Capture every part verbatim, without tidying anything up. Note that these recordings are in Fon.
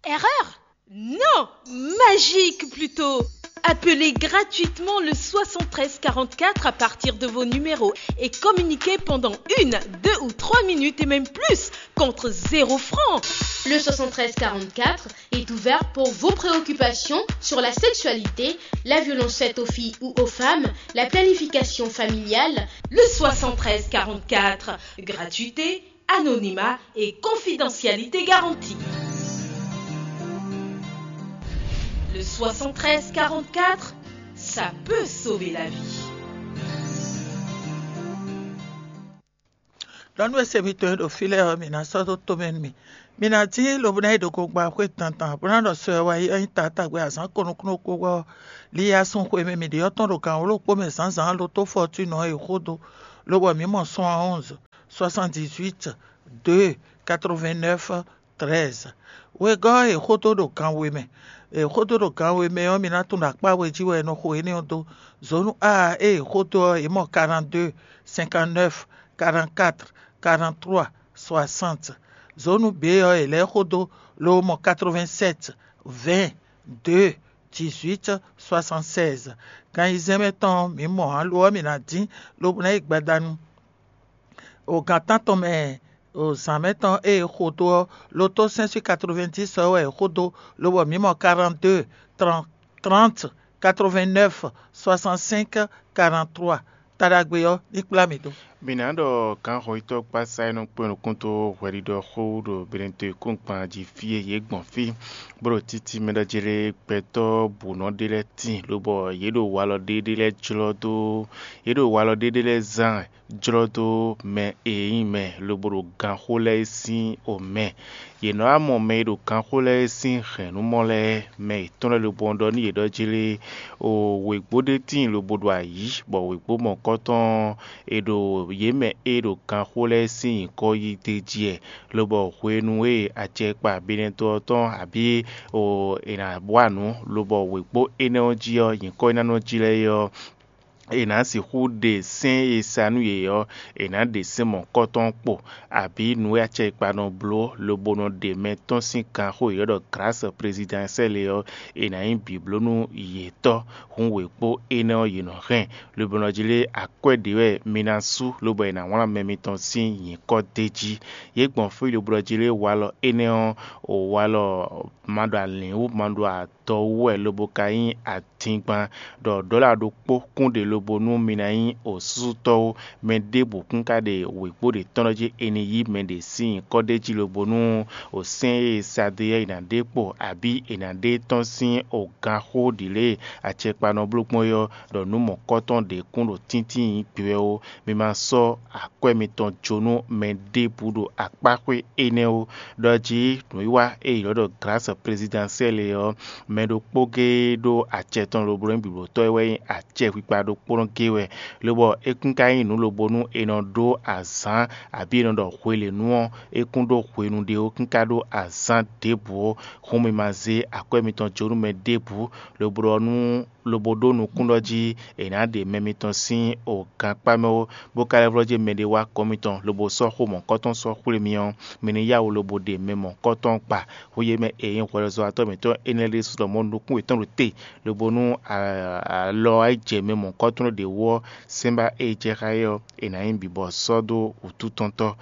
Erreur? Non, magique plutôt. Appelez gratuitement le soixante-treize quarante-quatre à partir de vos numéros et communiquez pendant une, deux ou trois minutes et même plus contre zéro franc. Le soixante-treize quarante-quatre est ouvert pour vos préoccupations sur la sexualité, la violence faite aux filles ou aux femmes, la planification familiale. Le soixante-treize quarante-quatre, gratuité, anonymat et confidentialité garantie. Le soixante-treize quarante-quatre, ça peut sauver la vie. Ɖɔ nú e se mitɔn e ɖo fí lɛ́ɛ ɔ́, mǐ ná sɔ́ dó tomɛ nú mì. Mǐ ná dín lobo ná yi ɖo gongba xwé dandan, bó ná ɖɔ sɔ e wá yi ɔ́ nyí taatagbe azǎn ko nukúnnú kpó wɛ ɔ́, li yá sun xwe mɛ mǐ ɖe ɔ́ tɔn ɖo gǎn wló kpó mɛ zǎnzǎn lo tó fɔtúnɔ e xó dó, lobɔ mǐ mɔ sɔ́n onze, soixante-dix-huit, deux, quatre-vingt-neuf, treize. Wegɔ́ ɔ́, è xódó ɖo gan we mɛ. È xódó ɖo gan we mɛ ɔ́, mi ná tunwun ɖɔ akpá we jí wɛ è nɔ xo énɛ́ ɔ́ dó. Zǒnu A ée è xódó ɔ́, è mɔ quarante-deux, cinquante-neuf, quarante-quatre, quarante-trois, soixante. Zǒnu B ɔ́, è lɛ́ xódó, lobo mɔ quatre-vingt-sept, vingt, deux, dix-huit, soixante-seize. Gan ayizɛ́n mɛ tɔn ɔ́, mǐ mɔ ǎ; lo ɔ́, mǐ ná dín, lobo ná yi gbadanu. O gan tántɔn mɛ, o zǎn mɛ tɔn e è xo dó ɔ́, lo tó sɛ́n sín quatre-vingt-dix ɔ́ wɛ è xo dó, lobɔ mǐ mɔ quarante-deux, trente, quatre-vingt-neuf, soixante-cinq, quarante-trois. Taɖagbe ɔ́ ní kplá mì dó. Mǐ ná ɖɔ gǎnhɔnyitɔ́ kpásá e nɔ kpé nukún dó hwɛɖiɖɔ xó ɖo Benɛto kúngban jí fí e yě gbɔn fí, bó ɖo títí mɛ ɖɔ jlé gbɛtɔ́ bǔnɔ ɖé lɛ́ɛ tíin, lobɔ yě ɖo walɔ ɖé ɖé lɛ́ɛ jlɔ́ dó, yě ɖo walɔ ɖé ɖé lɛ́ɛ zán jlɔ́ dó mɛ e nyí mɛ lobo ɖo ganxó lɛ́ɛ sín omɛ. Yě nɔ wá mɔ mɛ e ɖo ganxó lɛ́ɛ sín hɛ̌nnumɔ lɛ́ɛ, mɛ yětɔn lɛ́ɛ lobo ɖɔ nú yě ɖɔ jlé, o wěgbó ɖé tíin lobo ɖo ayǐ, bɔ wěgbó mɔ̌kɔtɔn e ɖo yě mɛ e ɖo ganxó lɛ́ɛ sín nyǐkɔ yí d'é jí wɛ, lobɔ hwenu e acɛkpa Benɛto ɔ́ tɔn abǐ o è nǎ wa nǔ, lobɔ wěgbó énɛ́ ɔ́ jí ɔ́, nyǐkɔ e ná nɔ jlɛ́ é ɔ́, è nǎ sixú ɖe sɛ́n e sa nú yě ɔ́, è nǎ ɖe sɛ́n mɔ̌kɔtɔn kpo, abǐ nǔ e acɛkpa nɔ bló, lobo nɔ ɖe mɛ tɔn sín ganxó e è ɖɔ Grâce Présidentielle ɔ́, è nǎ nyí bǐblónú yětɔn. Hǔn wěkpó énɛ́ ɔ́, yě nɔ hɛn, lobo nɔ jlé akwɛ́ ɖě wɛ mi ná sú, lobo è nǎ wlán mɛ mitɔn sín nyǐkɔ d'é jí. Yě gbɔn fí lobo nɔ jlé walɔ énɛ́ ɔ́, o walɔ ma ɖo alǐn wú, ma ɖo adɔ wú wɛ, lobo ka nyí adingban, ɖɔ ɖɔ̌la ɖokpó kún ɖe lobo nú mi ná nyí osúsútɔ́ ó. Mɛ ɖěbǔ kún ka ɖe wěkpó ɖě tɔn ɖɔ jí è nǐ yí mɛ ɖě sín nyǐkɔ ɖ'é jí lobo nú o sɛ́n e Sadeyɛ́ɛ ná ɖe kpo, abǐ è nǎ ɖe tɔ́n sín o ganxó ɖǐ lě e acɛkpa nɔ bló gbɔn é ɔ́, ɖɔ nǔ mɔ̌kɔtɔn ɖě kún ɖo tíntín nyí gbewɛ ó. Mi ma sɔ́ akwɛ́ mitɔn jó nú mɛ ɖěbǔ ɖo akpáxwé énɛ́ ó. Ɖɔ jí nǔwiwa e è ylɔ́ ɖɔ Grâce Présidentielle é ɔ́, mɛ ɖokpó géé ɖó acɛ tɔn lobo ɖo nyí bǐblótɔ́ e wɛ nyí acɛ xwikpa ɖokpónɔ géé wɛ, lobɔ é kún ka nyí nǔ lobo nú è nɔ ɖó azǎn, abǐ è nɔ ɖɔ hwelěnu ɔ́, é kún ɖó hwenu ɖé ó, kún ka ɖó azǎn ɖěbǔ ó. Hǔn mi ma zé akwɛ́ mitɔn jó nú mɛ ɖěbǔ, lobo ɖɔ nú lobo ɖó nukún ɖɔ jí è nǎ ɖe mɛ mitɔn sín o gankpá mɛ ó, bó ka lɛ́ vlɔ́ jí mɛɖé wá gɔ́n mitɔn, lobo sɔ́ xó mɔ̌kɔtɔn sɔ́ xwlé mi ɔ́, mi ní yá wǔ lobo ɖe mɛ mɔ̌kɔtɔn gba. Hú yě mɛ e nyí hwɛɖɔzɔ́watɔ́ mǐtɔn énɛ́ lɛ́ɛ ɖésú ɖɔ mɔ̌ nukún yětɔn ɖo te, lobo nú alɔ wá yi jɛ mɛ mɔ̌kɔtɔn ɖě wú ɔ́, sɛ́nbá e jɛ xá é ɔ́, è nǎ nyí bǐbɔ sɔ́ dó wǔtútɔ́ntɔ́.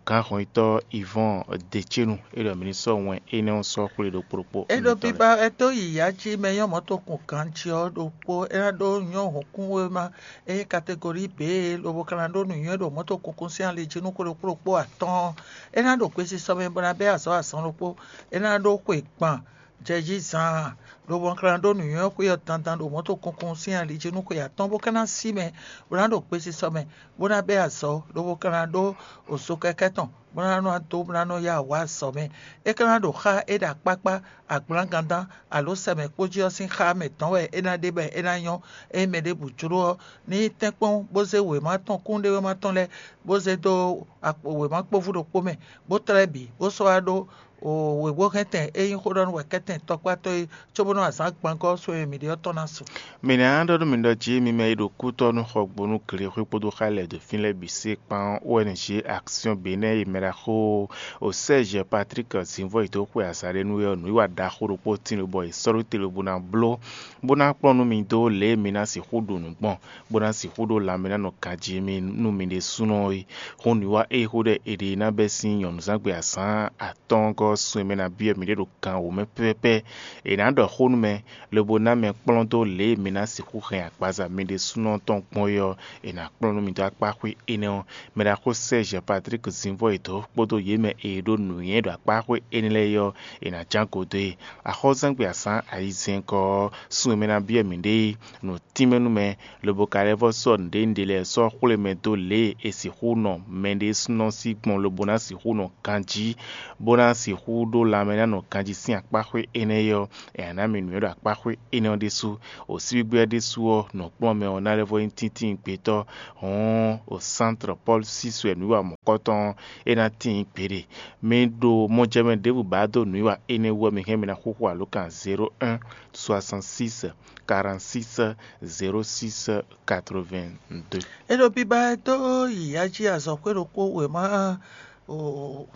Gǎnhɔnyitɔ́ Ivɔ́ɔn Decénu é ɖɔ mǐ ní sɔ́ wɛn énɛ́ ɔ́ sɔ́ xwlé ɖokpó ɖokpó. É ɖo biba wɛ dó yǐyá jí mɛ nyɔ́ mɔ̌tokun ganjí ɔ́ ɖokpó, é ná ɖó nyɔ́ hǔnkúnwéma e nyí kategori B, lobo ka ná ɖó nǔnywɛ́ ɖo mɔ̌tokunkun sín ali jí nú xwe ɖokpó ɖokpó atɔ́ɔ́n. É ná ɖo gbesisɔ mɛ bó ná bɛ́ azɔ̌ azɔn ɖokpó. É ná ɖó xwe gban jɛjí zaan, lobo ka ná ɖó nǔnywɛ́ xwé ɔ́ dandan ɖo mɔ̌tokunkun sín ali jí nú xwe atɔ́ɔ́n, bó ka ná sí mɛ bó ná ɖo gbesisɔ mɛ, bó ná bɛ́ azɔ̌, lobo ka ná ɖó ozo kɛkɛ́ tɔn bó ná nɔ dó bó ná nɔ yá wǎ azɔ̌ mɛ. É ka ná ɖo xá é ɖo akpákpá, agblǎngandán, alǒ sɛmɛkpó jí ɔ́ sín xá mɛ dɔn wɛ é ná ɖe bɔ é ná nyɔ́. Ényí mɛ ɖěbǔ jló ɔ́, ní yi tɛ́nkpɔ́n bó zé wěma tɔn kúnɖéwéma tɔn lɛ́ɛ bó zé dó wěma kpóvú ɖokpó mɛ, bó tlɛ́ bǐ, bó sɔ́ wá ɖó wěgbóhɛntɛn e nyí xó ɖɔ nú wɛ kɛ́tɛn tɔkpátɔ́ é, cóbónú azǎn gbangɔ́ sɔ́ e mǐ ɖe ɔ́ tɔn ná su. Mǐ ná ɖɔ nú mi ɖɔ jí mi mɛ e ɖo kútɔ́ nú xɔgbónú glexwé kpódó xá lɛ́ɛ dó fín lɛ́ɛ bǐ se kpán O N G Action Benin e mɛ ɖaxó Sɛ́zɛ Patrík Zinvɔ́ e dó xwe azǎn ɖé nú é ɔ́, nǔwiwa ɖaxó ɖokpó tín lobɔ è sɔ́ ɖó te lobo ná bló, bó ná kplɔ́n nú mi dó lě e mi ná sixú ɖu nǔ gbɔn, bó ná sixú ɖó lanmɛ ná nɔ ganjí mi nú mi ɖésúnɔ é. Hǔn nǔwiwa e xó ɖɔ è ɖe ná bɛ́ sín nyɔ̌nuzángbe azǎn atɔ́ɔ́ngɔ́ sun e mɛ ná byɔ́ mǐ ɖe ɖo gan wǒ mɛ pɛ́pɛ́pɛ́. È nǎ ɖɔ xó nú mɛ, lobo ná mɛ kplɔ́n dó lě e mi ná sixú hɛn agbaza mi ɖésúnɔ tɔn gbɔn é ɔ́, è nǎ kplɔ́n nú mi dó akpáxwé énɛ́ ɔ́. Mɛ ɖaxó Sɛ́zɛ Patrík Zinvɔ́ e dǒ kpódó yě mɛ e ɖó nǔnywɛ́ ɖo akpáxwé énɛ́ lɛ́ɛ é ɔ́, è nǎ ján go dó e. Axɔ́súzángbe azǎn ayizɛ́n gɔ́ ɔ́, sun e mɛ ná byɔ́ mǐɖée nǔ tínmɛ nú mɛ, lobo ka lɛ́ vɔ́ sɔ́ nǔɖénúɖé lɛ́ɛ sɔ́ xwlé mɛ dó lě e è sixú nɔ mɛɖésúnɔ sí gbɔn lobo ná sixú nɔ ganjí, bó ná sixú ɖó lanmɛ ná nɔ ganjí sín akpáxwé énɛ́ é ɔ́, è nǎ ná mi nǔnywɛ́ ɖo akpáxwé énɛ́ ɔ́ ɖésú. Osígbígbí ɔ́ ɖésú ɔ́, nǔkplɔ́nmɛ ɔ́ ná lɛ́ vɔ́ nyí tíntín gbětɔ́, hɔ̌n o Sántrɔ Pɔ́lu sísɔ e nǔwiwa mɔ̌kɔtɔn ɔ́, é ná tíin gbeɖé. Mi ɖo mɔjɛmɛ ɖěbǔ ba dó nǔwiwa énɛ́ wú ɔ́, mi hɛn mi ná xúxú alǒkan zéro un soixante six quarante six zéro six quatre vingt deux. É ɖo biba dó yi ají azɔ̌xwé ɖokpó wěma o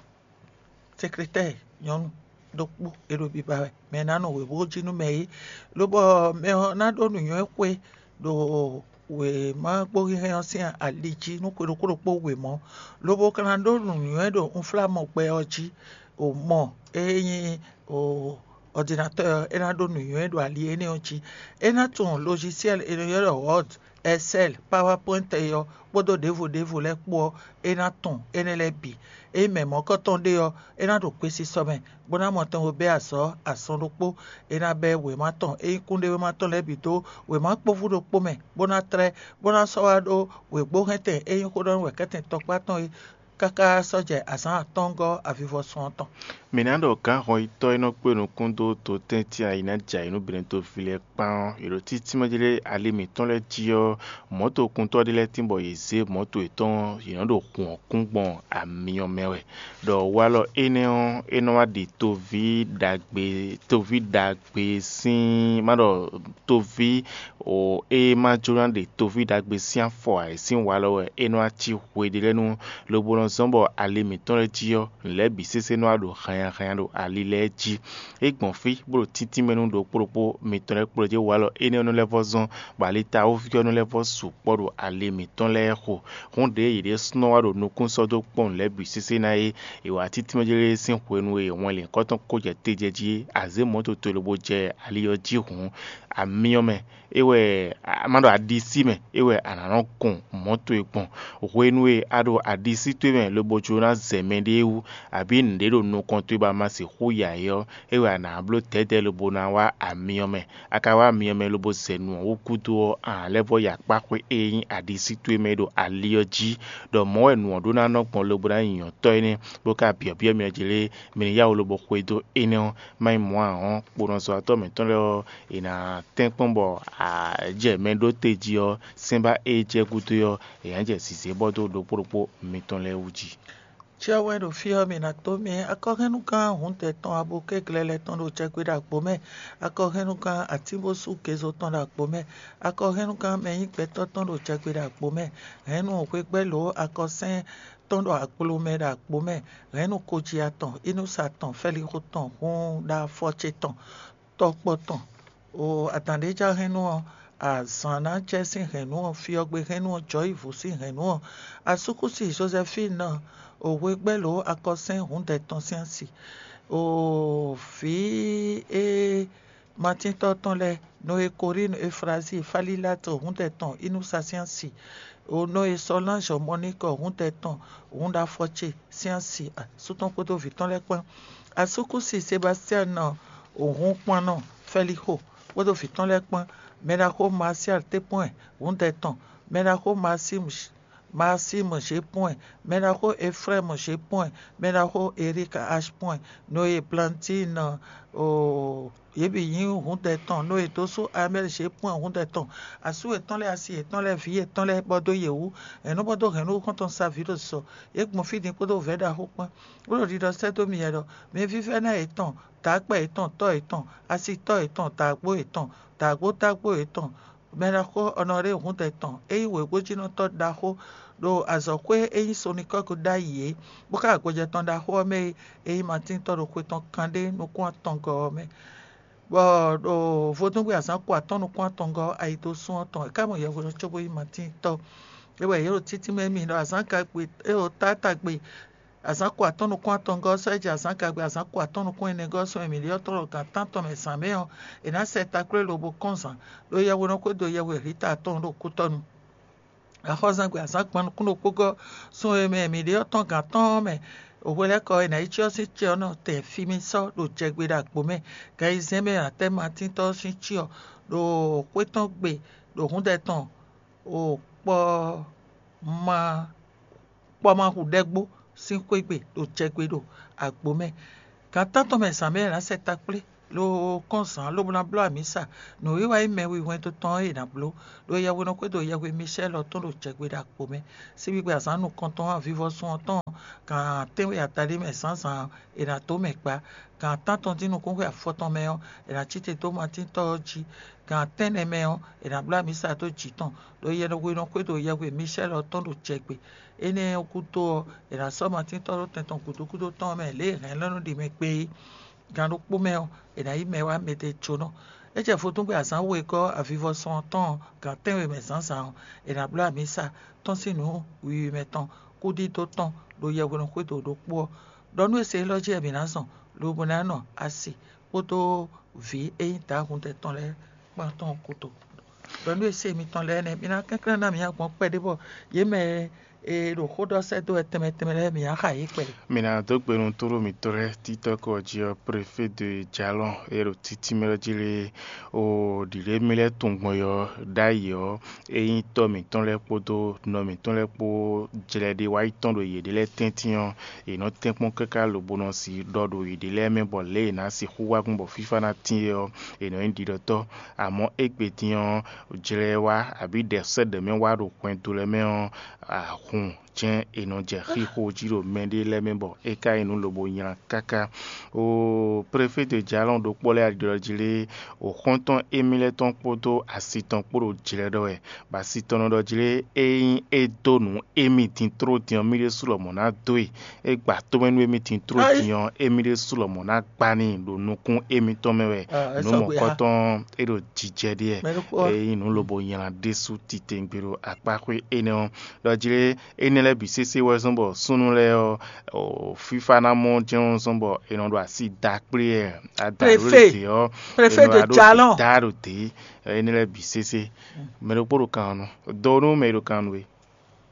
sekretɛ́ɛ nyɔ̌nu ɖokpó e ɖo biba wɛ, mɛ e ná nɔ wěwó jí nú mɛ é, lobɔ mɛ ɔ́ ná ɖó nǔnywɛ́ xwe ɖo wěma gbóhínhɛ́n ɔ́ sín ali jí nú xwe ɖokpó ɖokpó wěma ɔ́, lobo ka ná ɖó nǔnywɛ́ ɖo unflámɔgbɛ ɔ́ jí. O mɔ e nyí o ɔdinatɔ́ ɔ́, é ná ɖó nǔnywɛ́ ɖo ali énɛ́ ɔ́ jí. É ná tunwun logiciel e nɔ ylɔ́ ɖɔ Word, Excel, PowerPoint é ɔ́, kpódó ɖěvo ɖěvo lɛ́ɛ kpó ɔ́, é ná tunwun énɛ́ lɛ́ɛ bǐ. Ényí mɛ mɔ̌kɔtɔn ɖé ɔ́, é ná ɖo gbesisɔ mɛ, bó ná mɔ tɛn bó bɛ́ azɔ̌ azɔn ɖokpó. É ná bɛ́ wěma tɔn e nyí kúnɖéwéma tɔn lɛ́ɛ bǐ dó wěma kpóvú ɖokpó mɛ, bó ná tlɛ́, bó ná sɔ́ wá ɖó wěgbóhɛntɛn e nyí xó ɖɔ nú wɛ̌kɛ́tɛn tɔkpá tɔn é, káká sɔ́ jɛ azǎn atɔ́ɔ́ngɔ́ avivɔsun ɔ́ tɔn. Mǐ ná ɖɔ gǎnhɔnyitɔ́ e nɔ kpé nukún dó dotɛ́ntin ayǐ ná jɛ ayǐ nú Benɛtoví lɛ́ɛ kpán ɔ́, è ɖo títínmɛ jlé ali mǐtɔn lɛ́ɛ jí ɔ́, mɔ̌tokuntɔ́ ɖé lɛ́ɛ tín bɔ yě zé mɔ̌to yětɔn, yě nɔ ɖo hun ɔ́ kún gbɔn amyɔ mɛ wɛ. Ɖɔ walɔ énɛ́ ɔ́, é nɔ wá ɖi toví ɖagbe, toví ɖagbe sín, má ɖɔ toví o e ma jló ná ɖe toví ɖagbe sín afɔ ǎ, é sín walɔ wɛ é nɔ wá cí hweɖélɛ́nu, lobo nɔ zɔ́n bɔ ali mǐtɔn lɛ́ɛ jí ɔ́, nǔ lɛ́ɛ bǐ sésé nɔ wá ɖo hannyahannya ɖo ali lɛ́ɛ jí. É gbɔn fí bó ɖo títínmɛ nú ɖokpó ɖokpó mitɔn lɛ́ɛ kplɔ́ jɛ walɔ énɛ́ ɔ́ nɔ lɛ́ vɔ́ zɔ́n, bɔ alitawúví ɔ́ nɔ lɛ́ vɔ́ sukpɔ́ ɖo ali mǐtɔn lɛ́ɛ xo. Hǔn ɖěe yě ɖésúnɔ wá ɖo nukún sɔ́ dó kpɔ́n nǔ lɛ́ɛ bǐ sésé ná é, è wa títínmɛ jlé sín hwenu e wɛn lǐnkɔ́ tɔn ko jɛ te jɛ jí é, a zě mɔ̌ toto lobo jɛ ali ɔ́ jí hǔn, amyɔ mɛ é wɛ, a ma ɖo aɖisí mɛ é wɛ a nǎ nɔ kɔn mɔ̌ towe gbɔn. Hwenu e a ɖo aɖisí towe mɛ lobo jló ná zɛ mɛɖée wú, abǐ nǔɖé ɖo nukɔn towe bɔ a ma sixú ya é ɔ́, é wɛ a nǎ bló dɛ̌dɛ̌ lobo ná wá amyɔ mɛ. A ka wá amyɔ mɛ lobo zɛ nǔ ɔ́ wú gúdo ɔ́, a nǎ lɛ́ vɔ́ yi akpá xwé e nyí aɖisí towe mɛ é ɖo ali ɔ́ jí, ɖɔ mɔ̌ wɛ nǔ ɔ́ ɖó ná nɔ gbɔn lobo ná nyí nyɔ̌tɔ́ énɛ́, bó ka byɔ̌byɔ́ myɔ jlé, mi ní yá wǔ lobo xwedó énɛ́ ɔ́, má nyí mɔ̌ ǎ ɔ́, kponɔzɔ́watɔ́ mǐtɔn lɛ́ɛ ɔ́, è nǎ tɛ́nkpɔ́n bɔ a jɛ mɛ ɖó te jí ɔ́, sɛ́nbá e jɛ gúdo ɔ́, è nǎ jɛ zǐzé bɔ dó ɖokpó ɖokpó mitɔn lɛ́ɛ wú jí. Cyɔ wɛ ɖo fí ɔ́, mǐ ná tó mì akɔhɛnnugán hǔndɛ tɔn abo kɛ́glɛ́ lɛ́ɛ tɔn ɖo jɛgbe ɖo agbo mɛ, akɔhɛnnugán atínbósú gezo tɔn ɖo agbo mɛ, akɔhɛnnugán mɛ nyí gbɛtɔ́ tɔn ɖo jɛgbe ɖo agbo mɛ, hɛ̌nnu hwegbɛ́ lǒ akɔsɛ́n tɔn ɖo aglo mɛ ɖo agbo mɛ, hɛ̌nnu koji atɔn, inúsa tɔn, fɛlixo tɔn, hun ɖo afɔ ce tɔn, tɔkpɔ tɔn. O adǎn ɖé já hɛ́nnu ɔ́, azǎn ná jɛ sín hɛ̌nnu ɔ́, fyɔ́gbe hɛ́nnu ɔ́, jɔ̌yivǔ sín hɛ̌nnu ɔ́, asúkúsi Jozɛfín ɔ́, o hwegbɛ́ lǒ akɔsɛ́n hǔndɛ tɔn sín asi, o vǐ e matíntɔ́ tɔn lɛ́ɛ, Noe Korínu Eflazíi, Falíláto hǔndɛ tɔn, inúsa sín asi, o Noe Sɔlánzɔ Mɔníkɔ hǔndɛ tɔn, hǔn ɖo afɔ ce sín asi, asú tɔn kpódó vǐ tɔn lɛ́ɛ kpán. Asúkúsi Sebastian ɔ́, hun kpannɔ Fɛlixo kpódó vǐ tɔn lɛ́ɛ kpán, mɛɖaxó Marsial Tépɔ́ɛn hǔndɛ tɔn, mɛɖaxó Masimu Maxime Gépɔ́n, mɛɖaxó Efrɛ́m Gépɔ́n, mɛɖaxó Erik Ashpɔ́n, Noé Plantín, oo, yě bǐ nyí hǔndɛ tɔn. Noé dó sú Amɛ́l Gépɔ́n hǔndɛ tɔn. Asú yětɔn lɛ́ɛ, asi yětɔn lɛ́ɛ, vǐ yětɔn lɛ́ɛ bɔ dó yě wú. Hɛ̌nnú bɔ dó hɛ̌nnú xɔ́ntɔn Savíɖo sɔ. Yě gbɔn fí din kpódó vɛ̌ ɖaxó kpán. Bó ɖo ɖiɖɔ sɛ́ dó mi wɛ ɖɔ: Mi vívɛ́ná yětɔn, dǎkpɛ yětɔn, tɔ́ yětɔn, asitɔ́ yětɔn, dǎgbó yětɔn, dǎgbótágbó yětɔn, mɛɖaxó Ɔnɔɖée Húndɛ tɔn, é nyí wěgbójínɔtɔ́ ɖaxó ɖo azɔ̌xwé e nyí Sonikɔ́gu ɖ'ayǐ é, bó xá gbɔjɛ́ tɔn ɖaxó ɔ́ mɛ e é nyí Matín tɔn ɖo xwe tɔn kanɖé nukún atɔngɔ́ ɔ́ mɛ, bɔ ɖo vodúngbe azǎn ko atɔ́ɔ́n nukún atɔngɔ́ ɔ́, ayidosún ɔ́ tɔn, é ká mɔ yɛhweɖɔ cóbó nyí Matín tɔn. É wɛ yě ɖo títí mɛ mì ɖɔ azǎn ka gbe, é ɖo táta gbe, azǎn ko atɔ́ɔ́n nukún atɔngɔ́ ɔ́ sɔ́ é jɛ azǎn gagbe azǎn ko atɔ́ɔ́n nukún ɛnɛgɔ́ ɔ́ sɔ́ mɛ mǐ ɖyɔ́ tlɔ́ gan tántɔn mɛ zǎn mɛ ɔ́, è nǎ sɛ taklé lobo kɔn zǎn ɖó yɛhweɖɔ xwédo yɛhwe Hlita tɔn ɖo kútɔ́nu. Axɔ́zangbe azǎn gban nukún ɖokpó gɔ́ sun e mɛ mǐ ɖe ɔ́ tɔn gǎn tɔn ɔ́ mɛ, hwelɛ́kɔ e nǎ yi cyɔ sín cyɔ ɔ́ nɔ tɛn fí mì sɔ́ ɖo jɛgbe ɖo agbo mɛ. Gan ayizɛ́n mɛ e nǎ tɛ́ Matín tɔ́ ɔ́ sín cyɔ ɖo xwé tɔn gbe ɖo hǔndɛ tɔn ɖo kpɔ ma kpɔ́ ma hu ɖɛ́gbó sín xwé gbe ɖo jɛgbe ɖo agbo mɛ. Gan tántɔn mɛ zǎn mɛ è nǎ sɛ takplé, lo kɔn zǎn lobo ná bló amǐsa. Nǔwiwa e mɛ wihwɛndo tɔn e è nǎ bló ɖo yɛhwenɔ́ xwédo yɛhwe Micɛ́l ɔ́ tɔn ɖo jɛgbe ɖo agbo mɛ. Síbígbe azǎn nukɔntɔn avivɔsun ɔ́ tɔn gan tɛ́nwe adaɖé mɛ zǎnzǎn è nǎ dó mɛ gbá. Gan tántɔn dín nukúnxwe afɔtɔn mɛ ɔ́, è nǎ cí te dó Matín tɔ́ ɔ́ jí. Gan tɛ́nnɛ mɛ ɔ́, è nǎ bló amǐsa dó jǐ tɔn ɖo yɛhwenɔ́ xwédo yɛhwe Micɛ́l ɔ́ tɔn ɖo jɛgbe. Énɛ́ ɔ́ gúdo ɔ́, è nǎ sɔ́ Matín tɔ́ ɖó tɛn tɔn gǔdo gúdo tɔn ɔ́ mɛ lě e hɛ̌nlɔ́nú ɖi mɛ kpé é. Gan ɖokpó mɛ ɔ́, è nǎ yí mɛ wá mɛɖé jónɔ. É jɛ vodúngbe azǎn wegɔ́ avivɔsɔn ɔ́ tɔn ɔ́, gan tɛ́nwe mɛ zǎnzǎn ɔ́, è nǎ bló amǐsa tɔ́n sín nǔ wiwi mɛ tɔn kúdídó tɔn ɖo yɛhwenɔ́ xwédo ɖokpó ɔ́. Ɖɔ nú e se élɔ́ jí wɛ mǐ ná zɔn, lobo ná nɔ asi kpódó vǐ e nyí Dǎhundɛ tɔn lɛ́ɛ kpán tɔn gúdo. Ɖɔ nú e se mitɔn lɛ́ɛ nɛ́, mi ná kɛnklɛ́n ná mǐ agbɔn kpɛɖé bɔ yě mɛ e ɖo xó ɖɔ sɛ́ dó wɛ tɛnmɛ tɛnmɛ lɛ́ɛ mǐ ná xa yě kpɛɖé. Mǐ ná dó gbe nú tlóló mǐtɔn lɛ́ɛ títɔ́ kɔ jí ɔ́, préfé de Jalɔn e ɖo títí mɛ lɛ́ɛ jí lé o ɖǐɖé mì lɛ́ɛ tunwun gbɔn yɔ ɖ'ayǐ ɔ́, é nyí tɔ́ mǐtɔn lɛ́ɛ kpódó nɔ mǐtɔn lɛ́ɛ kpó jlɛ ɖé wá yi tɔn ɖo yěɖée lɛ́ɛ tɛ́ntin ɔ́, è nɔ tɛ́nkpɔ́n káká lobo nɔ si ɖɔ ɖo yěɖée lɛ́ɛ mɛ bɔ lě e è nǎ sixú wá gbɔn bɔ fífá ná tín é ɔ́, è nɔ nyí ɖiɖɔtɔ́. Amɔ̌ égbé din ɔ́, jlɛ wá abǐ ɖɛ̌sɛ́ ɖɛ̌ mɛ wá ɖo hwɛndo lɛ́ɛ mɛ ɔ́, ahun jɛ́n è nɔ jɛ xixo jí ɖo mɛɖé lɛ́ɛ mɛ bɔ é ka nyí nǔ lobo nylá káká. O préfé de Jalɔn ɖokpó lɛ́ɛ ɖiɖɔ jí lé, o xɔ́ntɔn émí lɛ́ɛ tɔn kpódó asi tɔn kpó ɖo jlɛ ɖɔ wɛ, bɔ asi tɔn nɔ ɖɔ jí lé, ényí é dó nǔ émí din tló din ɔ́, mí ɖésú lɔmɔ̌ ná dó e. É gba tómɛ nú émí din tló din ɔ́, émí ɖésú lɔmɔ̌ ná gbá n'i ɖo nukún émítɔn mɛ wɛ. Nǔ mɔ̌kɔtɔn é ɖo jijɛ ɖíe. Ényí nǔ lobo nylá ɖésú titewungbe ɖo akpáxwé énɛ́ ɔ́, ɖɔ jí lé, énɛ́ lɛ́ɛ bǐ sésé wɛ zɔ́n bɔ súnnu lɛ́ɛ ɔ́, fífá ná mɔ jɛ́n zɔ́n bɔ è nɔ ɖo asi da kplé ɛ. Adǎlódě ɔ́, è nɔ ɖo da ɖo dě. Énɛ́ lɛ́ɛ bǐ sésé. Mɛ ɖokpó ɖo kan ɔ́ nú, do nú mɛ e ɖo kan nú we.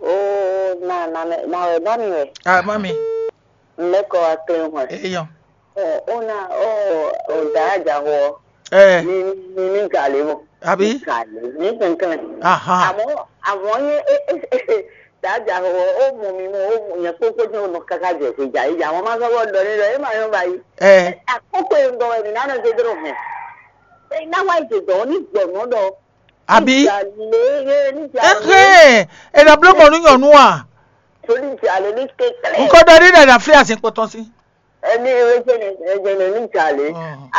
Oo, na na mɛ na wɛ ba mi wɛ. Ah, mami. N bɛ kɔ wa kle hɔn. Eyɔn. Ɔ, o na o o da ja hɔ. Eh. Mi mi mi gale mo. Abi. Mi gale mi kankan. Aha. Àmọ́ àmọ́ yé e e e da ja hɔ o mọ mi mo o yẹn kpókpó tí o nọ kaka jẹ kó ja yìí àwọn máa sọ wọ́n dọ̀ ní lọ ẹ máa yọ báyìí. Eh. Àkókò yìí ń gbọ́ ẹ̀mí náà ṣe dúró hàn. Ẹ náà wáyé ṣe dọ̀ ní gbọ̀nà dọ̀. Abi. Níjà lé yé níjà lé. Ehe, e na bló mɔ nú nyɔnu a. Torí ìjà lé ní kékeré. Nkɔ dɔ ní dada fi asi kpɔtɔ si. Ẹni ewé jẹnẹ ẹjẹnẹ ní ìjà lé.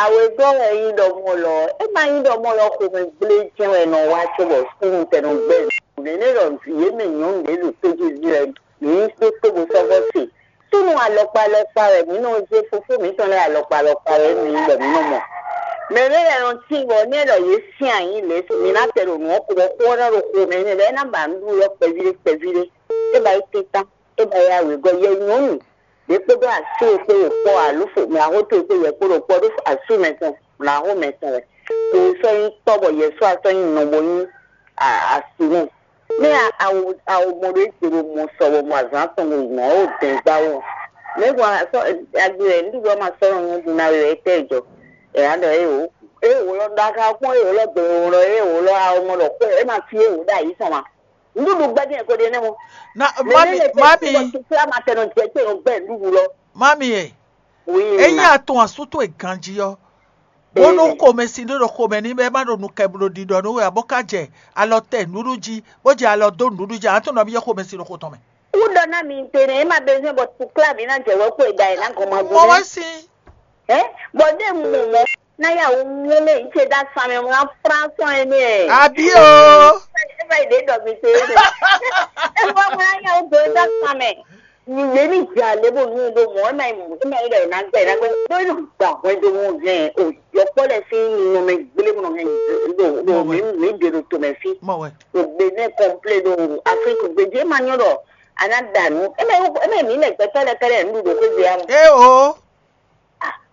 Àwọn ẹgbẹ́ rẹ̀ yín dọ̀ mọ́ lọ. Ẹ máa yín dọ̀ mọ́ lọ kò mí gblé jẹ́ ẹ̀ nọ wá tó bọ̀ sínú tẹnu gbẹ́. Nínú ìrọ̀ yé mi yún lé lò péjú rẹ̀ ní pé kó bó sọ́gbọ́ sí. Súnnu alɔkpa alɔkpa wɛ mǐ nɔ zé fofó mǐtɔn lɛ́ɛ alɔkpa alɔkpa wɛ mǐ bɔ mǐ nɔ mɔ. Mɛ ɖé lɛ́ɛ nɔ tín bɔ nɛ́ ɖɔ yě sín ayǐ lě mǐ ná tɛ ɖo nǔ ɔ́ ko bɔ xó ɔ́ ná ɖo xo mɛ nɛ́ lɛ́ɛ ná ba nǔɖuɖu ɔ́ kpɛví ɖé kpɛví ɖé. É ba yi tɛ́ntán, é ba yi awěgɔ́ yɛ nyɔ̌nu ɖě kpódó asú e kpó ɖo kpɔ́ alo fo mɛ axó towe kpó yɛ kpó ɖo kpɔ́ ɖó asú mɛtɔn mɛ axó mɛtɔn wɛ. Kò sɔ́ nyí tɔ́ bɔ yɛ sɔ́ asɔ́ nyí nɔ bo nyí asú nɛ. Mɛ awo awo mɔ ɖo egbe ɖo mɔ sɔ bɔ mɔ azǎn tɔn ɖo nɔ wo dɛn gba wo. Mɛ gɔn asɔ agbe wɛ ŋɖuɖu ma sɔ nɔ nyɔ́ ɖu na wɛ etɛ jɔ. Ɛ ya ɖɔ e wo e wo lɔ ɖo aka kpɔn e wo lɔ gbe wo lɔ e wo lɔ awo mɔ ɖɔ kpɔ e ma fi e wo ɖo ayi sɔn ma. Nǔɖuɖu gbɛ́ dín ko ɖe nɛ́ mɔ. Na mami, mami, tukla ma tɛ nɔ jɛ kpe nɔ gbɛ nǔɖuɖu lɔ. Mami e. Oui. Eyi atɔn asú towe ganji ɔ. Bónú xomɛsin ɖé ɖo xomɛ ní bɛ má ɖo nukɛ bló ɖiɖɔ nú we ǎ bó ká jɛ alɔ tɛ nǔɖuɖu jí, bó jɛ alɔ dó nǔɖuɖu jí, atɔn nɔ byɔ́ xomɛsin ɖo xo tɔn mɛ. Kúɖɔ ná mi te nɛ é ma bɛ́ zɛ́n bɔ tukla mi ná jɛ wɛ kó e da ɛ ná gɔn ma gbɔn. Mɔ wɛ sin. Ɛ bɔ ɖé mu mɔ ná yà wò mú lé yìí ṣe dá sami wọn ná fúránsán ẹ ní ẹ. Àbí o. Ẹ bá yìí dé dɔ mi ṣe é dé. Ẹ bá wọn ná yà wò gbé dá sami. Yě ní dza lě bó nú ɖó mɔ̌ ɛ má yi mú ɛ má yi ɖɔ ɛ ná gbɛ ɛ ná gbɛ ɖó ní gbà hwɛndo wọn hɛn o yɔkpɔ lɛ sín nɔmɛ gblé bó nɔ hɛn ɖo ɖo mí mí ɖe ɖo tomɛ fí. Mɔ wɛ. Ɖo Benin kɔmplé ɖo Afrique gbedzi ɛ má nyɔ ɖɔ a ná da nǔ ɛ má ɛ má mí lɛ gbɛtɔ lɛ kɛlɛ nǔ ɖo xwé gbé amɔ. E o.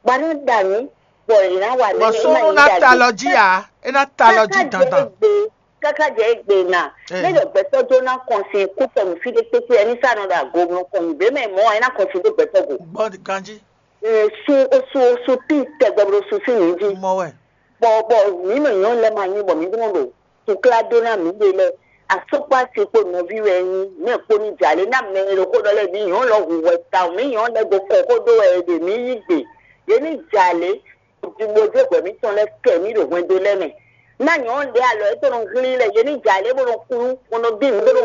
Bɔ a ná da nǔ bɔ è ná wa nǔ. Bɔ súnnu ná ta lɔ jí a, é ná ta lɔ jí dandan. Káká jɛ egbe na. Ne ɖɔ gbɛtɔ dó ná kɔnsin kútɔnu fí ɖé kpékpé ɛni sá nɔ ɖo ago nɔ kɔn nǔgbé mɛ mɔ ɛna kɔnsin dó gbɛtɔ go. Gbɔ ganji. Sun osun osun tí tɛgbɛ bó sun sí nìí jí. Mɔ wɛ. Bɔ bɔ mǐ mɛ nyɔ̌nu lɛ́ɛ ma nyí bɔ mǐ dó nɔ ɖo tukla dó ná mǐ ɖe lɛ́ɛ. Asɔkpa si kpo nɔví wɛ nyí mɛ kpo ní jalè ná mɛ e ɖo xó ɖɔ lɛ́ɛ mǐ nyɔ̌nu lɔ hu hwɛ tawun mǐ nyɔ̌nu lɛ́ɛ go kɔ xó ɖó wɛ è ɖe mǐ yí gbe. Yě ní jalè. Bó dó hwɛ mǐtɔn lɛ́ɛ kɛ mǐ ɖo hwɛndo lɛ́ɛ mɛ. Ná nyɔ̌nu ɖě alɔ é tó nɔ hlín lɛ yě ní jɛ alě bó nɔ kú bó nɔ bí nǔ bó nɔ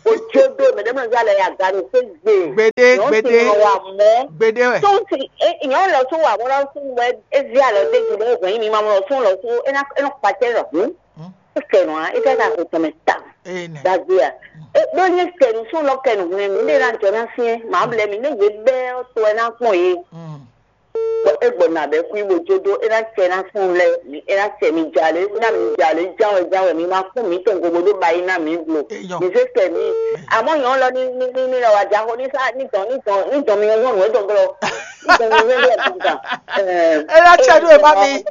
bó jó dó mɛ ɖé mɔ zá lɛ ya ga ɖo xwé gbe. Gbede, gbede, wa mɔ. Gbede wɛ. Tó ń ti nyɔ̌nu lɔ tó wà mɔ lɔ fún wɛ é zí alɔ dé gbe é hwɛ̌n mi ma mɔ lɔ fún lɔ fún é ná é nɔ kpacɛ lɔ hǔn. É kɛ nɔ á é kɛ ka ko tɔmɛ ta. Dagbe a. É ɖó ní kɛnu sún lɔ kɛnu hwɛ̌n mi ɖé ná jɔ ná syɛn màá blɛ mi ní yě bɛ́ ɔ́ to ɛ ná kpɔn yě. Bɔ é gbɔ nǎ bɛ́ xwí bó jó dó é ná cɛ ná fún lɛ́ɛ, é ná cɛ mi jalě, ná mi jalě ján wɛ ján wɛ mi ma kún mǐ tɔn gobo ɖó ba yí ná mǐ blo. Mi zé kɛ mǐ. Àmọ́ nyɔ̌ lɔ ní ní ní ní lɔ wá já xó ní sá ní dɔn ní dɔn ní dɔn mi nyɔ́ nǔ é dɔn glɔ́. Ní dɔn mi nyɔ́ nǔ é dɔn glɔ́. É ná cɛ nú ema mi.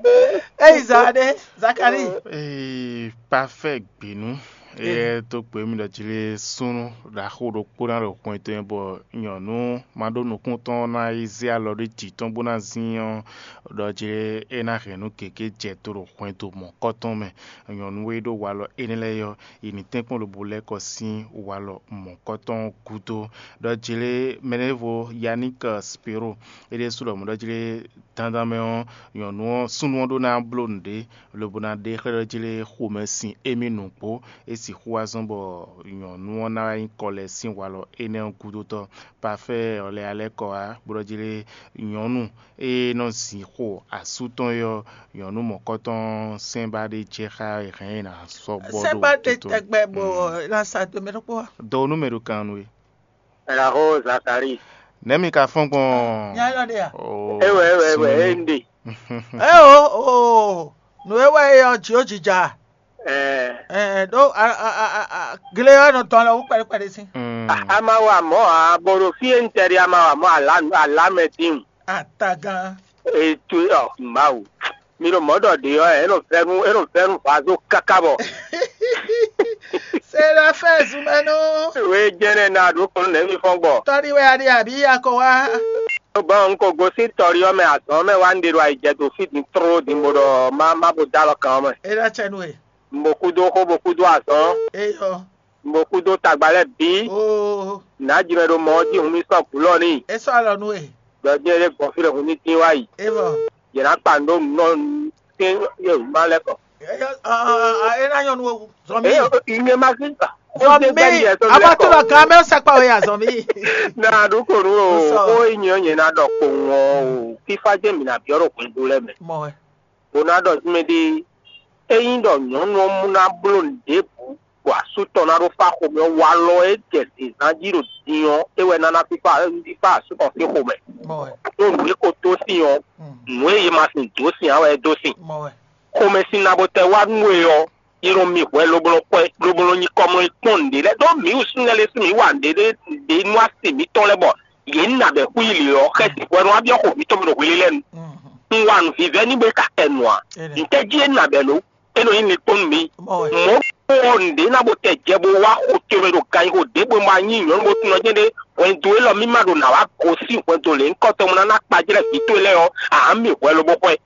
Eyi zan ɖe Zakari. Ee, parfait gbinu. Éyɛ́ tó kpé mì ɖɔ jí lé súnnu ɖaxó ɖokpó ná ɖo xwɛn tɔn bɔ nyɔ̌nu ma ɖó nukún tɔn ná yi zé alɔ ɖé jǐ tɔn bó ná zín ɔ́, ɖɔ jí lé é ná hɛn nú gěgé jɛ tó ɖo xwɛn dó mɔ̌kɔ́ tɔn mɛ. Nyɔ̌nu e ɖó walɔ énɛ́ lɛ́ɛ ɔ́, yi ní tɛ́nkpɔ́n lobo lɛ́ kɔ sín walɔ mɔ̌kɔ́ tɔn gúdo. Ɖɔ jí lé mɛɖěvo Yannick Spiro é ɖésú ɖɔ mɔ̌ ɖɔ jí lé dandan mɛ ɔ́, nyɔ̌nu ɔ́ súnnu ɔ́ ɖó ná bló nǔɖé lobo ná ɖe xlɛ́ ɖɔ jí lé xomɛ sin émí nǔgbó. É sixú wá zɔ́n bɔ nyɔ̌nu ɔ́ ná wá nyí kɔ lɛ́ɛ sín walɔ énɛ́ ɔ́ gúdo tɔn. Pafɛ́ ɔ́ lɛ́ alɛ́ kɔ wá bó ɖɔ jí lé nyɔ̌nu e nɔ zǐn xo asú tɔn é ɔ́, nyɔ̌nu mɔ̌kɔtɔn sɛ́nbá ɖé jɛ xá hɛn ná sɔ́ bɔ ɖo sɛ́nbá ɖé tɛgbɛ bɔ ná sa do mɛ ɖokpó wá. Dɔ nú mɛ ɖo kan nú é. Raho Zakari. Nɛ̌ mi ka fɔ́n gbɔn? Nya élɔ́ ɖe a? Oh, Ewe ewe ewe sunnu. Ende. Eo o, nǔ e wɛ é ɔ́ jǐ ó jǐja. Ɛɛ. Ɛɛ ɖó a a a a gle ɔ́ nɔ tɔn lɛ wú kpɛɖé kpɛɖé sín. Mm. A ma wa mɔ̌ ǎ, bó ɖo fí e un tɛ ɖe a ma wa mɔ̌ alǎ alǎ mɛ dín. Atagán. Ètò ɔ Mawu. Mi ɖo mɔ̌ ɖɔ ɖě ɔ́, é nɔ vɛ́ nú é nɔ vɛ́ nú vazo káká bɔ. Sérafɛ́ zumɛnú. Wé jɛnɛ na ɖó kɔn nɛ̌ mi fɔ́n gbɔ. Tɔ́ɖí wɛ a ɖe àbí a ko wá? Bɔn un ko gosín tɔ́ɖí ɔ́ mɛ azɔn mɛ wá un ɖe ɖo ayijɛ dó fí din tló din bó ɖɔ má má bo dó alɔ kan ɔ́ mɛ. É ná cɛ nú we. Un bo kúdó xó bo kúdó azɔn. Eyɔ. Un bo kúdó tagba lɛ́ɛ bǐ. Oo. Nǎ jimɛ ɖo mɔ ɔ́ jí hun mì sɔ́ gǔlɔ n'i. É sɔ́ alɔ nú we. Ɖɔ jɛ́n é ɖé gbɔn fí ɖé hun ní dín wá yi. É vɔ. Yě ná kpa nǔ ɖó nǔ nɔ sín yě má lɛ́ kɔ. É ná nyɔ́ nú we wú. Zɔn mí. Ìyẹn ma sí gbà. Zɔn mí. A ma tó lọ gan mɛ ó sɛkpɔ we ya zɔn mí. Na ɖu ko nu o. Ó nyɛ nyɛ na ɖɔ kpowun ɔ o. Fífá jẹ́ mi na biɔ ɖo hwɛndo lɛ mɛ. Mɔ wɛ. O na ɖɔ jumɛ ɖe. Eyin ɖɔ nyɔnu ɔ mu na bló nǔɖébǔ bɔ asú tɔn ná ɖó fá xomɛ ɔ́, walɔ e jɛ zǐnzán jí ɖo din ɔ́, é wɛ ná ná fífá fífá asú tɔn sín xomɛ. Ɖó nǔ e ko dó sin ɔ́, nǔ e yě ma sin dǒ sin ǎ wɛ é dó sin. Xomɛ sin na bo tɛ wá nú we ɔ́, é nɔ mi hwɛ lobo nɔ kpɔ́ lobo nɔ nyi kɔmlɔ yi kpɔ́n nǔɖé lɛ́ɛ ɖó mǐ wǔ súnnu lɛ́ɛ lɛ́ɛ sín mǐ wa nǔɖé ɖé ɖě nú asi mǐtɔn lɛ́ɛ bɔ yě nú nǎ bɛ́ xwí lě ɔ́, xɛsi hwɛ nɔ wá byɔ́ xo mǐtɔn mɛ ɖo hwelélɛ́nu. Un wa nǔvívɛ́ nú we ka kɛ nǔ ǎ. Ntɛ́ jí é nǎ bɛ́ lo? É nɔ nyí linkpɔ́n nú mǐ. Mɔ̌ kpó ɔ́, nǔɖé ná bo tɛ jɛ bó wá xo towe mɛ ɖo ganxixo ɖěbǔ e ma nyí nyɔ̌nu bo tunɔ jɛ́n ɖé hwɛndo élɔ́ mí ma ɖo nǎ wá gosín hwɛndo lě nyǐkɔ tɔn mɔ ná ná kpajlɛ́ vǐ towe lɛ́ɛ ɔ́, ǎ mì hwɛ lobo xwɛ.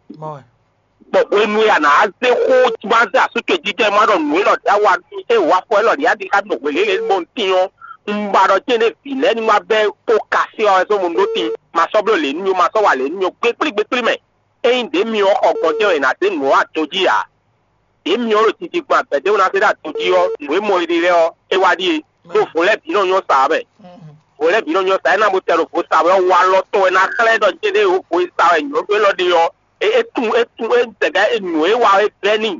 Bɔ hwenu e a nǎ zé xó ma zé asú towe jijɛ ma ɖɔ nǔ élɔ́ ɖ'é wá, é wá fɔ élɔ́ ɖi adi xá ɖo hwelélě bó un tín ɔ́, un ba ɖɔ céɖé vǐ lɛ́ɛ ní wá bɛ́ kó kasé ɔ́ wɛ sɔ́ mo ɖó tin, ma sɔ́ bló lě nú mì ó, ma sɔ́ wa lě nú mì ó, gbékplí gbékplí mɛ. Ényí ɖě myɔ xɔ gbɔn jɛ́n wɛ è nǎ zé nǔ ɔ́ adojí ǎ. Ɖě myɔ ɖo titi gbɔn abɛ̌dé wɛ ná zé ɖo adojí ɔ́, nǔ e mɔ è ɖe lɛ́ɛ ɔ́, é wá ɖíe. Ɖó vo lɛ́ɛ bǐ nɔ nyɔ́ sa ɔ́ mɛ. Vo lɛ́ɛ bǐ nɔ nyɔ́ sa, é ná bo tɛ ɖo vo sa wɛ ɔ́, walɔ tɔn wɛ ná xlɛ́ ɖɔ jɛ́n ɖé vo e sa wɛ nyɔ̌nu élɔ́ ɖe ɔ́, é é tún é tún é tɛgɛ é nǔ e wa é blɛ́ n'i.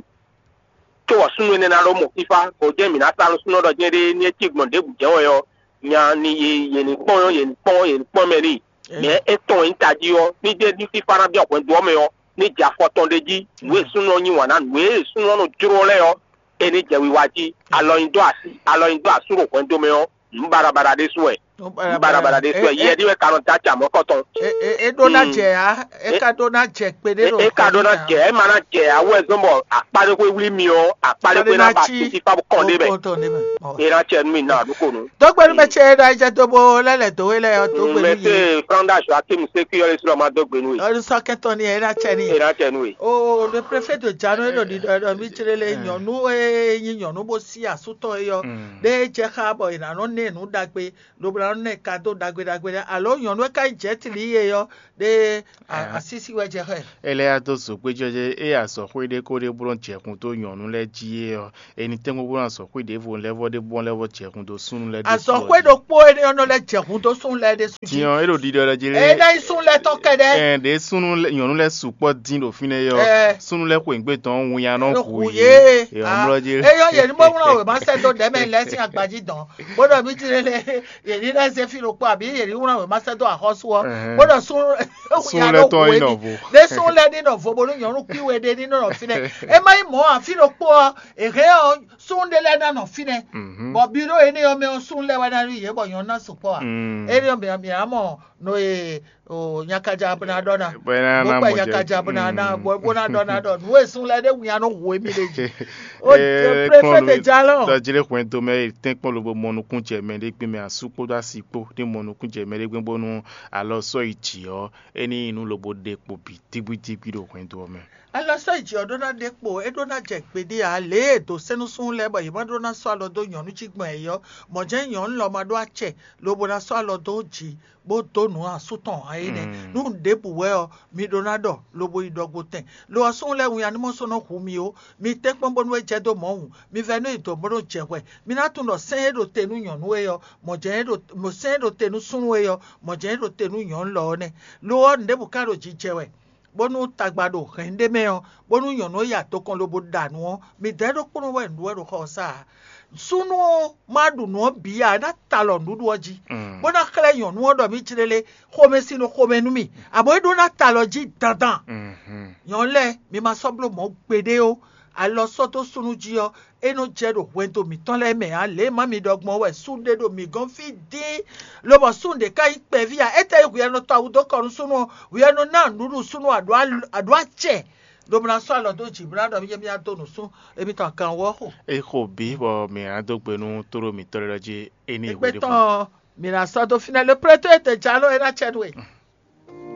Có wɔ súnnu énɛ́ ná ɖó mɔ fífá, bɔ jɛ́n mǐ ná sa nú súnnu ɔ́ ɖɔ jɛ́n ɖé ní é cí gbɔn ɖěbǔ jɛ́n wɛ ɔ́, nya ni yě yě ní kpɔ́n yě ní kpɔ́n yě ní kpɔ́n mɛ n'i. Mɛ étɔn e nyí tají ɔ́, ní jɛ́n ní fífá ná byɔ́ hwɛndo ɔ́ mɛ ɔ́, ní jɛ afɔ tɔn ɖ'é jí. Nǔ e súnnu ɔ́ yí wǎn ná, nǔ e súnnu ɔ́ nɔ jló lɛ́ɛ ɔ́, é ní jɛ wiwa jí. Alɔ nyi dó asú, alɔ nyi dó asú ɖo hwɛndo mɛ ɔ́, nǔ baɖabaɖa ɖésú wɛ. Nǔ baɖabaɖa ɖésú wɛ. Yɛ ɖi wɛ ka nɔ dó acɛ amɔ̌kɔtɔn. É ɖó ná jɛ ǎ, é ka ɖó ná jɛ kpeɖé ɖo é ka ɖó ná jɛ, é ma ná jɛ ǎ wɛ zɔ́n bɔ akpá ɖé xwé wlí mi ɔ́, akpá ɖé xwé ná ba titi fá bó kɔn ɖé mɛ. É ná cɛ nú mi ná ɖokonu. Dógbenu mɛ ce ɖo ayijɛ dó bó lɛ́ lɛ̌ dó we lɛ ɔ́, dógbenu yě. Mɛsɛ Franda Joakim Sekuyɔli Sulɔma dó gbe nú we. Ɔlùsɔkɛtɔ ni ɛ ná cɛ ni. É ná cɛ nú we. O le prefet de Jano e ɖo ɖiɖɔ ɖɔ mí jlé lé nyɔnu e nyi nyɔnu bó sí asú tɔn e yɔ ɖe jɛ xá bɔ è nǎ nɔ nɛ nǔ ɖagbe lobo ná nɔ nɛ kado ɖagbe ɖagbe ɖe alo nyɔnu e ka nyí jɛtili ye yɔ ɖe asísí wɛ jɛ xɛ. Ele ya dó zǒgbé jɔjɛ eye azɔ̌xwé ɖé ko ɖé bló jɛ̌xún dó nyɔ̌nu lɛ́ɛ jí é ɔ́, è nǐ tɛ́nkpɔ́n bó ná azɔ̌xwé ɖěvo lɛ́vɔ́ ɖé bó lɛ́vɔ́ jɛ̌xún dó súnnu lɛ́ɛ ɖésú. Azɔ̌xwé ɖokpó énɛ́ ɔ́ nɔ lɛ́ jɛ̌xún dó súnnu lɛ́ɛ ɖésú jí. Tiɲɔ é ɖo ɖiɖɔ ɖɔ jí lé. É ná nyí súnnu lɛ́ɛ tɔn kɛɖɛ́. Ɛn ɖě súnnu lɛ́- nyɔ̌nu lɛ́ɛ sukpɔ́ dín ɖo fínɛ́ é ɔ́, Ɛ. Súnnu lɛ́ɛ xweyǐgbe tɔn winnyá nɔ hu Hu yě. yě. Ɛ, ɔmlɔ jí lé. Eyɔ yě ní bó wlán wěma sɛ́ dó ɖɛ̌mɛ lɛ́ɛ sín agbají dɔn bó ɖɔ mí jí lélé yě ní lɛ́ zé fí ɖokpó abǐ yě ní wlán wěma sɛ́ dó axɔ́sú ɔ́ Ɛhɛn. Bó ɖɔ súnnu Súnnu lɛ́ɛ tɔn é nɔ vo. Ɖé súnnu lɛ́ɛ ní nɔ vo bónú nyɔ̌nu kpí we ɖé ní nɔ fínɛ́. É má nyí mɔ̌ ǎ, fí ɖokpó ɔ́, è hɛn ɔ́, súnnu ɖé lɛ́ɛ ná nɔ fínɛ́. Mhm. Bɔ bi ɖó énɛ́ ɔ́ mɛ ɔ́, súnnu lɛ́ɛ wɛ ná ɖo yě bɔ nyɔ̌nu ná sukpɔ́ ǎ. Mm. Énɛ́ ɔ́, mǐ mǐ á mɔ nɔ e o nyakaja bó ná ɖɔ ná. Bɔ é ná Bó ná kpɛ mɔ jɛ. Nyakaja bó ná ná Mm. bó bó ná ɖɔ ná ɖɔ nǔ e súnnu lɛ́ɛ ɖé wun ya nɔ hu émí ɖé jí. O Ee, préfé kplɔ́n de ló- jalɔ. Dɔ jí lé hwɛndo mɛ e tɛ́nkpɔ́n lobo mɔ nukún jɛ mɛ ɖé gbé mɛ asú kpódó asi kpó ní mɔ nukún jɛ mɛ ɖé gbé bónú alɔ sɔ́ yi jǐ ɔ́, é ní nyí nǔ lobo ɖe kpo bǐ dígbídígbí ɖo hwɛndo ɔ́ mɛ. Alɔ sɔ́ yi jǐ ɔ́ ɖó ná ɖe kpo, é ɖó ná jɛ gbeɖé ǎ, lě e è dǒ sɛ́n nú súnnu lɛ́ɛ bɔ yě ma ɖó ná sɔ́ alɔ dó nyɔ̌nu jí gbɔn yě ɔ́, mɔ̌ jɛ́n nyɔ̌nu lɔ ma ɖó acɛ, lobo ná sɔ́ alɔ dó jǐ, bó dó nǔ asú tɔn ǎ é nɛ́. Mm. Nú nǔ ɖěbǔ wɛ ɔ́, mi ɖó ná ɖɔ, lobo yi ɖɔ gbotɛn. Lo ɔ́, súnnu lɛ́ɛ wun ya ní mɔ sɔ́ nɔ hu mi ó. Mi tɛ́nkpɔ́n bónú é jɛ dó Mawu. Mi vɛ́ nú yi dɔ̌n bó nɔ jɛ hwɛ. Mi ná tunwun ɖɔ sɛ́n e ɖo te nú nyɔ̌nu é ɔ́, mɔ̌ jɛ́n é ɖo mɔ̌ sɛ́n e ɖo te nú súnnu é ɔ́, mɔ̌ jɛ́n é ɖo te nú nyɔ̌nu lɔ ɔ́ nɛ́. Lo ɔ́, nǔɖěbǔ ka ɖo jijɛ wɛ, bónú tagba ɖo hɛ̌n ɖé mɛ ɔ́, bónú nyɔ̌nu ɔ́ yi adokɔn lobo ɖa nǔ ɔ́, midɛɛ ɖokpónɔ wɛ nǔɖuɖu wɛ ɖo xɔ ɔ́ sa ǎ. Súnnu ɔ́ ma ɖu nǔ ɔ́ bǐ ǎ, é ná ta alɔ nǔɖuɖu ɔ́ jí, Mm. bó ná xlɛ́ nyɔ̌nu ɔ́ ɖɔ mí jlélé xomɛsin nɔ xomɛ nú mì, abɔ é ɖó ná ta alɔ jí dandan. Mhm. Nyɔ̌nu lɛ́ɛ, mi ma sɔ́ bló mɔ̌ gbeɖé ó. Alɔ sɔ́ dó súnnu jí ɔ́, é nɔ jɛ ɖo hwɛndo mǐtɔn lɛ́ɛ mɛ ǎ. Lě e má mi ɖɔ gbɔn wɛ súnnu ɖé ɖo mǐ gɔ́n fí dín, lobɔ súnnu ɖě ká nyí kpɛví ǎ. Étɛ́ nyí hwǐ e nɔ tɔ awu dó kɔ nú súnnu ɔ́? Hwǐ e nɔ ná nǔɖuɖu súnnu aɖǒ al- aɖǒ acɛ, lobo ná sɔ́ alɔ dó jǐ bó ná ɖɔ mí jɛ mí ná dó nǔ sún émítɔn kanwú ɔ́ xo. É xo bǐ bɔ mǐ ná dó gbe nú tóɖó mǐtɔn lɛ́ɛ ɖɔ jí é ní Égbé hweɖěbǔ. Tɔn ɔ́, mǐ ná sɔ́ dó fínɛ́ le plétó e te jǎló é ná cɛ nú we.